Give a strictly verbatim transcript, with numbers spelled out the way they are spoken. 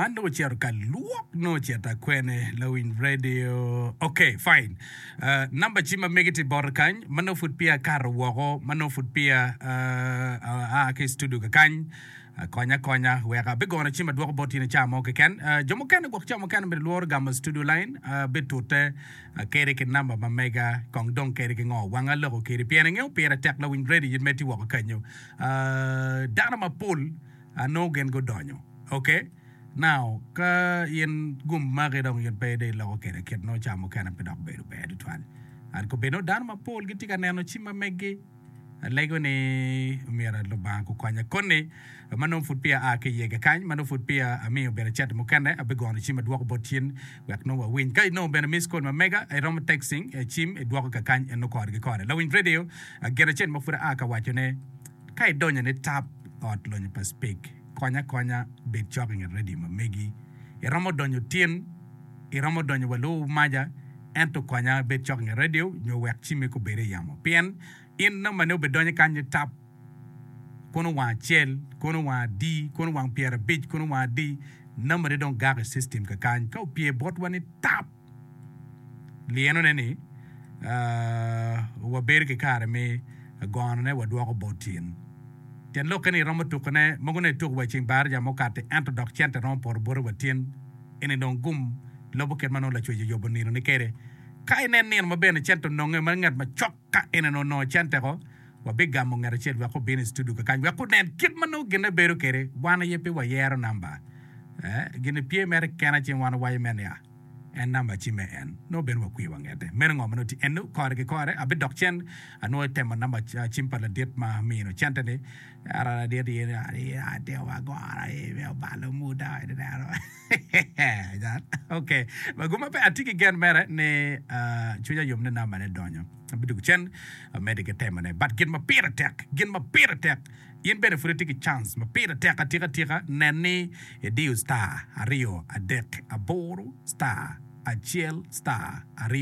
Man nongo ocito ka lwok nongo ocito akwene lawiny radio. Ok, fine. Uh, namba cim ma megi tye bota kany ma nongo pud peya akato woko ma nongo pud peya uh, aa ki i studio kakany. Uh, konya konya wek abigono cim adwoko bot in i cawa mo keken. Uh, jo mukene gwok cawa mukene bene lworo gamo studio line uh, bitute uh, kede ki namba ma mega kong dong kede ki ngo wanga loko kede pien ingeyo pire tek lawiny radio in mere tye woko kanyo. Uh, dano mapol uh, nongo gin gudonyo. Okay? Now, ka in gum maki dong in pe dong iloko kede kit nongo cawa mukene pe dok bedo ber tutwal. An kobedo dano mapol gitye ka neno cim ma meggi alego ni myero Lubanga gukonya koni ma nongo pud peya aa ki iye kakany ma nongo pud peya amiyo bene cente mukene abigono cim adwoko bot cin wek nongo wawiny ka inongo bene miss call ma mega iromo texting cim idwoko kakany en nongo kore ki kore lawiny radio gin acel ma pud aa ka wacone ka idonyo ni tap ot lonyo pa Speke konya konya bed cok i nget radio ma megi iromo donyo tin iromo donyo wa lubo maja ento konya bed cok i nget radio nyo wek cimmi kubed i yamo pien in namba ne obedonyo kany ni tap kono wang acel kono wang adi kono wang pyerabic kono wang adi namba ne dong gak i system kakany ka opye botwa ni tap lienone ni uh, wabedo ki kare me gonone wadwoko bot in tyen lokke ni iromo tukone mogo ne ituko wa i ceng baraja mukati ento dok cente romo poto bote wa tin eni dong gum lobo kit ma nongo lacwec oyubo nino ni kede ka inen nino ma bene cente ononge ma ngat macok ka ene onongo cente ko wabigamo ngat acel wek obin i studio kakany wek onen kit ma nongo gine bedo kede wan aye pe wayero namba eh, gine pye mere kena ceng wan owaco mere niya en namba cime en nongo bene wakwiyo wangete meno ngo ma nongo tye eno kore ki kore abidok cen anongo itemo namba cim pa ladit ma mino cente ni ara ladit in atimo magoro obalo muda ok maguma pe atye ki gen mere ni uh, cwinya yom ni namba ne donyo abidugo cen amede ki temone but gin ma pire tek gin ma pire tek in bene pud itye ki chance ma pire tek atika atika nen ni idiyo star aryo adek aboro star acel star aryo.